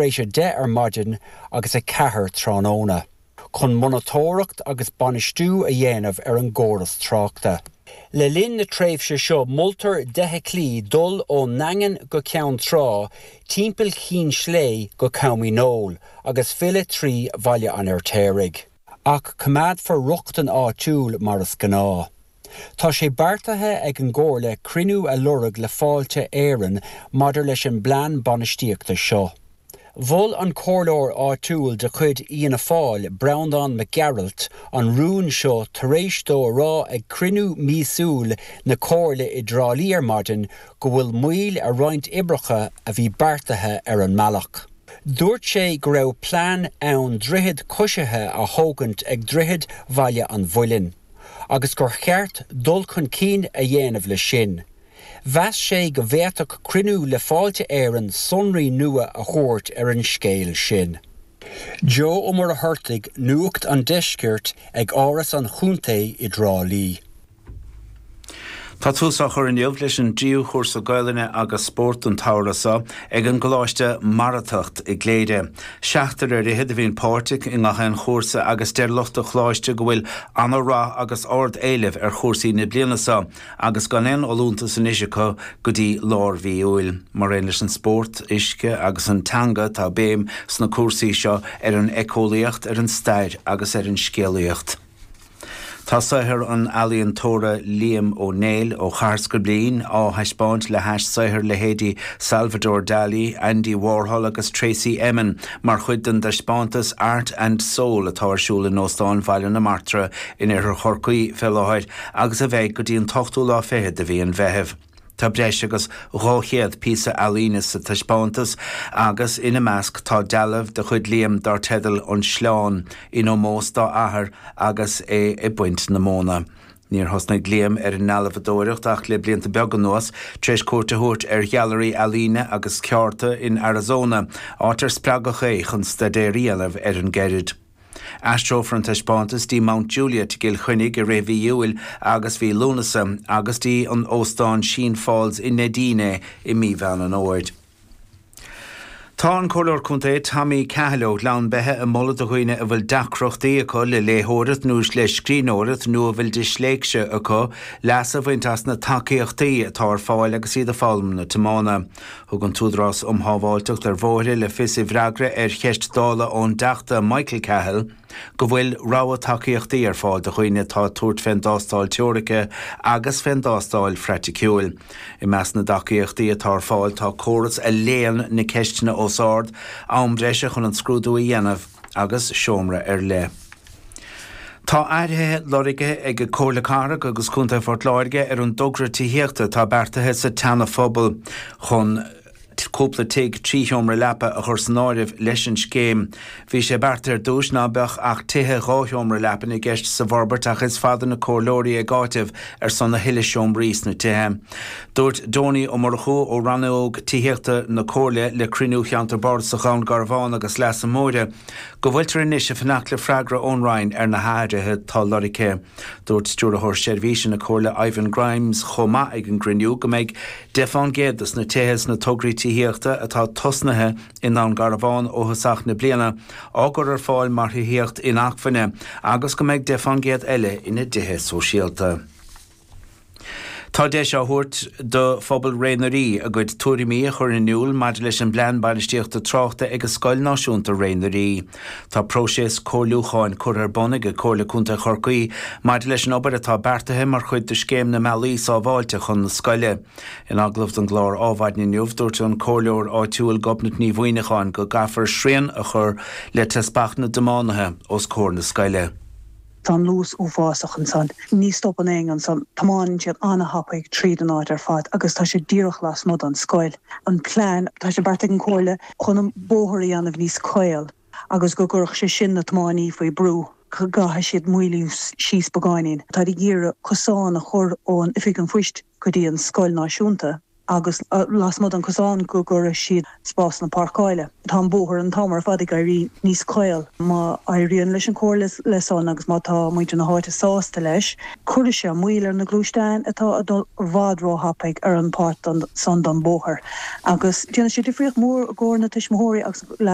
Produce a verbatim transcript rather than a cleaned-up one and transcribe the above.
éis a deich ar maidin agus a ceathair tráthnóna, chun monatóireacht agus bainistiú a dhéanamh ar an gcóras tráchta. Le linn na tréimhse seo moltar d'fheithiclí dul ón nDaingean go Ceann Trá timpeall Chinn Slé go Com Dhíneol agus filleadh trí Bhaile an Fheirtéaraigh. Ach coimeádfar rochtain áitiúil mar is gnáth. Tá sé beartaithe ag an gComhairle cruinniú a lorg le Fáilte Éireann maidir leis an bplean bainistíochta seo. Mhol an comhairleoir áitiúil de chuid Fhianna Fáil Breandán Mac Gearailt an rún seo tar éis dó a rá ag cruinniú míosúil na Comhairle i dTrá Lí ar maidin go bhfuil moill ar roinnt oibreacha a bhí beartaithe ar an mbealach. Dúirt sé go raibh plean ann droichead coisithe a thógaint ag Droichead Bhaile an Mhuilinn, agus gur cheart dul chun cinn a dhéanamh leis sin. Mheas sé go bhféadfadh cruinniú le Fáilte Éireann sonraí nua a thabhairt ar an scéal sin. Joe Ó Muircheartaigh Nuacht an Deiscirt ag Áras an Chontae i dTrá Lí. Tá tús á chur inniu leis an dtríú chúrsa Gaelainne agus spórt an tsamhradh seo ag an gColáiste Maratacht i gCléire. Seachtar ar fhichead a bhíonn páirteach i ngach aon chúrsa agus deir lucht an choláiste go bhfuil an-rath agus ard-éileamh ar chúrsaí na bliana seo agus gan aon fholúntas anois acu go dtí lár mhí Iúil. Mar aon leis an spórt, uisce agus an teanga tá béim sna cúrsaí seo ar an éiceolaíocht, ar an stair agus ar an scéalaíocht. Tá saothar an ealaíontóra Liam Ó Néill ó Chathair Scoiblín á thaispeáint le hais saothar leithéidí Salvador Dali, Andy Warhol agus Tracey Emin mar chuid den taispeántas Art and Soul atá ar siúl in Óstán Bhaile na Martra in Oirthear Chorcaí fé láthair agus a bheidh go dtí an t-ochtú lá fichead de mhí an Mheithimh. Tá breis agus dhá chéad píosa ealaíne sa taispeántas agus ina measc tá dealbh de chuid Liam dar teideal an Sleán in ómós dá athair agus é ag baint na móna. Níor thosnaigh Liam ar an ndealbhadóireacht ach le blianta beaga anuas tar éis cuairt a thabhairt ar ghailearaí ealaíne agus ceárta in Arizona, áit ar spreagadh é chun staidéar a dhéanamh ar an gceird. Aistreofar an taispeántas dtí Mount Juliet i gCill Chainnigh i rith mhí Iúil agus mhí Lúnasa agus dtí an óstán Sheen Falls i Neidín é i mí Mheán an Fhómhair. Tá an Comhairleoir Contae Tommy Cahill ó Ghleann Beithe ag moladh do dhaoine a bhfuil deacrachtaí acu le léitheoireacht nó le scríbhneoireacht nó a bhfuil disléicse acu leas a bhaint as na tacaíochtaí atá ar fáil agus iad ag foghlaim na tiomána. Thug an tÚdarás um Shábháilteacht ar Bhóithre le fios i bhfreagra ar cheist Dála ón dTeachta Michael Cahill go bhfuil rogha tacaíochtaí ar fáil do dhaoine atá ag tabhairt fén dtástáil teoirice agus fén dtástáil phraiticiúil. I measc na dtacaíochtaí atá ar fáil tá córas a léann na ceisteanna os ard, am breise chun an scrúdú a dhéanamh agus seomra ar leith. Tá athruithe lorgtha ag Comhairle Cathrach agus Contae Phort Láirge ar an dtogra tithíochta atá beartaithe sa tSeana-Phobal chun cúpla tigh trí sheomra leapa a chur san áireamh leis an scéim. Bhí sé beartaithe ar dtús ná beadh ach tithe dhá sheomra leapa i gceist sa bhforbairt ach is fada na comhairleoirí ag áiteamh ar son a thuilleadh seomraí sna tithe. Dúirt Donie Ó Murchú ó Rannóg Tithíochta na Comhairle le cruinniú Cheantar Bardasach Dhún Garbhán agus Leasa Móire go bhfuiltear anois ag fanacht le freagra ón Roinn ar na hathruithe atá lorgtha. Dúirt Stiúrthóir Seirbhíse na Comhairle Ivan Grimes chomh maith ag an gcruinniú go mbeidh deich faoin gcéad dos na tithe sna tograí tithíochta atá tosnaithe i nDún Garbhán ó thosach na bliana á gcur ar fáil mar thithíocht inacmhainne agus go mbeidh deich faoin gcéad eile ina dtithe sóisialta. Tá deis á thabhairt do phobal Ré na Rí a gcuid tuairimí a chur in iúl maidir leis an bplean bainistíochta tráchta ag Scoil Náisiúnta Ré na Rí. Tá próiseas comhairliúcháin curtha ar bun ag Comhairle Contae Chorcaí maidir leis an obair atá beartaithe mar chuid de scéim na mbealaí sábháilte chun na scoile. In agallamh don gclár Adhmhaidin inniu dúirt an comhairleoir áitiúil Gobnait Ní Mhuineacháin go gcaithfear srian a chur le teaspach na dtiománaithe os comhair na scoile. Tá an luas uafásach ansan. Ní stopann éinne ansan tiomáineann siad an-tapaidh tríd an áit ar fad agus tá sé díreach lasmuigh den scoil. An plean tá sé beartaithe ag an gComhairle chun an bóthar a dhéanamh níos caol agus go gcuirfeadh sé sin na tiománaí faoi brú go gcaithfidh siad moilliú síos beagáinín. Tá ag iarraidh cosán a chur ón oifig an phoist go dtí an scoil náisiúnta. agus uh, lasmuigh den cosán go gcuirfidh siad spásanna páirceála. Tá an bóthar an t-am ar fad ag éirí níos caol má éiríonn leis an chomhairle le san agus má tá muintir na háite sásta leis, cuirfidh sé moill ar na gluaisteáin atá ag dul i bhfad róthapaidh ar an páirt san den bóthar. Agus déanfaidh sé difríocht mór do na tuismitheoirí agus le